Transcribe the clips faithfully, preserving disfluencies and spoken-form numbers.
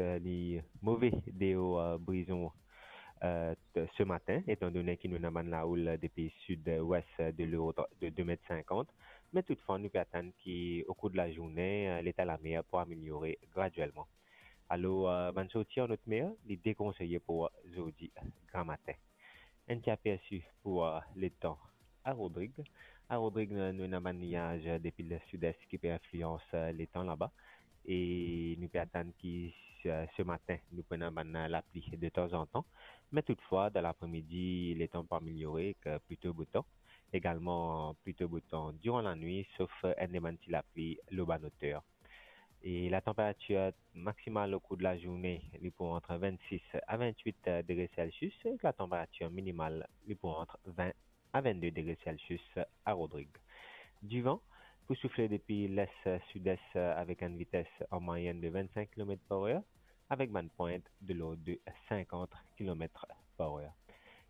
eh, li move deor, eh, Brison, eh, t-, se matin, etandone ki nou ena bann laoul depi sid-wes de lord de de met sinkant. Me toutfwa, nou pe atann ki, o kour de lazourne, eh, leta lamer pou ameliore gradielman. Alor, eh, bann sorti an otmer, li dekonseye pou zordi gramatin. Enn ti apersi pou, eh, letan a Rodrig. A Rodrig, nou, nou ena bann niaz, eh, depi lesid-es ki pe inflians, eh, letan laba. E nou pe atann ki, eh, se matin, nou pou ena bann, eh, lapli de tanzantan. Me toutfwa, dan lapremidi, letan pou ameliore ek, eh, plito bo tan. Egalman, plito bo tan diran lanwit, sof, eh, enn de bann ti lapli lor bann oter. E latanperatir maksimal o kour de lazourne, li pou ant vennsis a vennwit degre Celsius, ek latanperatir minimal, li pou ant vin a vennde degre Celsius a Rodrig. Divan pou soufle depi les-sid-es avek enn vites an mwayenn de vennsink kilomet par er, avek bann pwint de lord de sinkant kilomet par er.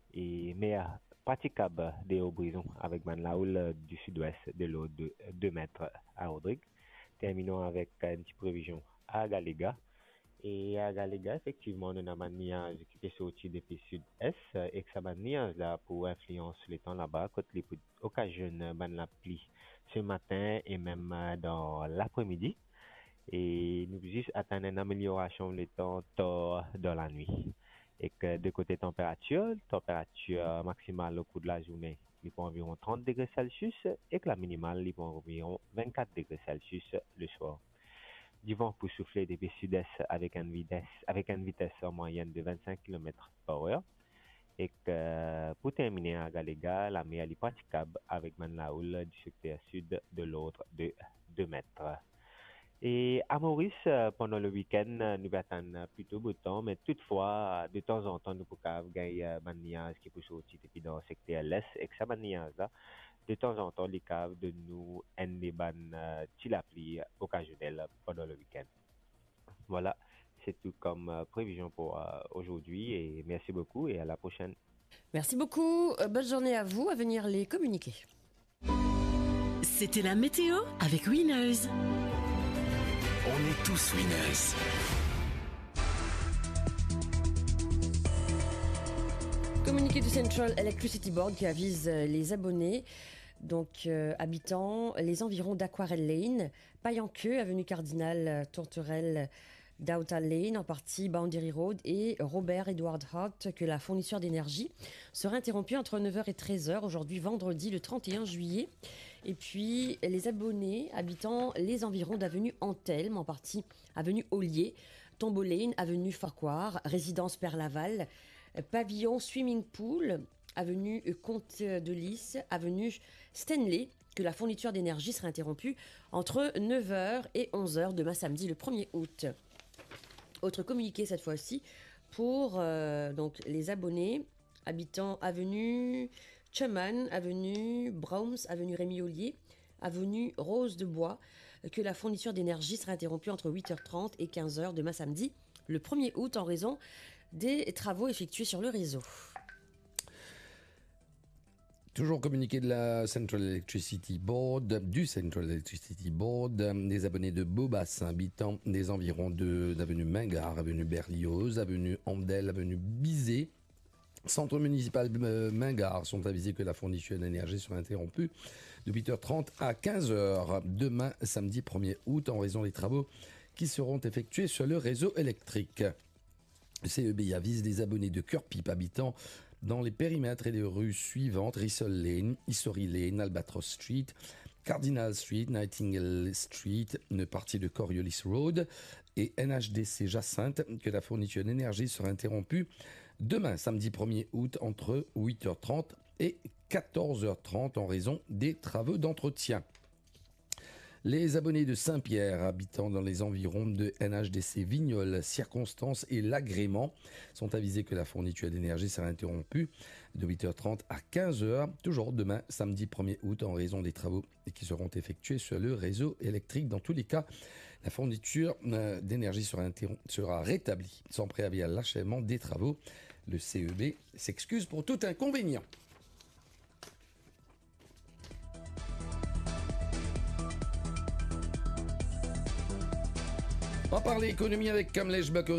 E mer pratikab deor Brison avek bann laoul di sid-wes de lord de de met a Rodrig. Terminon avek enn ti previzion a Galega. E a Galega, efektivman, nou ena bann niaz ki pe sorti depi sid-es, ek sa bann niaz la pou inflians letan laba, kot li pou okazionn bann lapli se matin e mem, eh, dan lapremidi. E nou pou zis atann enn ameliorasion letan tar dan lanwit. Ek, eh, de kote tanperatir, tanperatir maksimal o kour de lazourne, li pou anviron trant degre Celsius, ek laminimal, li pou anviron vennkat degre Celsius leswar. Divan pou soufle depi sid-es avek enn vites, avek enn vites an mwayenn de vennsink kilomet par er. Ek, eh, pou termine a Galega, lamer li pratikab avek bann laoul di sekter sid de lord de de met. E a Moris, eh, pandan le wikenn, eh, nou pe atann plito bo tan, me toutfwa, de tanzantan, nou pou kav gagn, eh, bann niaz ki pou sorti depi dan sekter les, ek sa bann niaz la, de tanzantan, li kav donn nou enn de bann, eh, ti lapli okazionel pandan le wikenn. Voilà, c'est tout comme, eh, prévision pour, eh, aujourd'hui, et merci beaucoup et à la prochaine. Merci beaucoup. Euh, bonne journée à vous. À venir les communiqués. C'était la météo avec Winners. On est tous winners. Communiqué du Central Electricity Board qui avise, euh, les abonnés, donc, euh, habitant les environs d'Aquarelle Lane, Payanqueux, avenue Cardinal Tourterelle, Downtown Lane, en partie Boundary Road et Robert Edward Hart, que la fourniture d'énergie sera interrompue entre neuf heures et treize heures aujourd'hui, vendredi le trente et un juillet. Et puis, les abonnés habitant les environs d'avenue Antelme, en partie avenue Ollier, Tombeau Lane, avenue Farquhar, résidence Perlaval, pavillon Swimming Pool, avenue Comte de Lys, avenue Stanley, que la fourniture d'énergie sera interrompue entre neuf heures et onze heures demain samedi le premier août. Autre communiqué cette fois-ci pour, euh, donc, les abonnés habitant avenue Cheman, avenue Bromes, avenue Rémy Ollier, avenue Rose de Bois, que la fourniture d'énergie sera interrompue entre huit heures trente et quinze heures demain samedi le premier août en raison des travaux effectués sur le réseau. Toujours communiqué de la Central Electricity Board, du Central Electricity Board, des abonnés de Beaubassin, habitant des environs de, d'avenue Mingard, avenue Berlioz, avenue Handel, avenue Bizet, centre municipal, euh, Mingard, sont avisés que la fourniture d'énergie sera interrompue de huit heures trente à quinze heures demain, samedi premier août, en raison des travaux qui seront effectués sur le réseau électrique. Le C E B avise les abonnés de Cœur Pipe habitant dans les périmètres et les rues suivantes: Rissol Lane, Issory Lane, Albatross Street, Cardinal Street, Nightingale Street, une partie de Coriolis Road et N H D C Jacinthe, que la fourniture d'énergie sera interrompue demain, samedi premier août, entre huit heures trente et quatorze heures trente en raison des travaux d'entretien. Les abonnés de Saint-Pierre, habitant dans les environs de N H D C Vignoles, Circonstance et Lagrémans, sont avisés que la fourniture d'énergie sera interrompue de huit heures trente à quinze heures, toujours demain, samedi premier août, en raison des travaux qui seront effectués sur le réseau électrique. Dans tous les cas, la fourniture, euh, d'énergie sera interrom-, sera rétablie sans préavis à l'achèvement des travaux. Le C E B s'excuse pour tout inconvénient. On parle économie avec Kamlesh Bakori.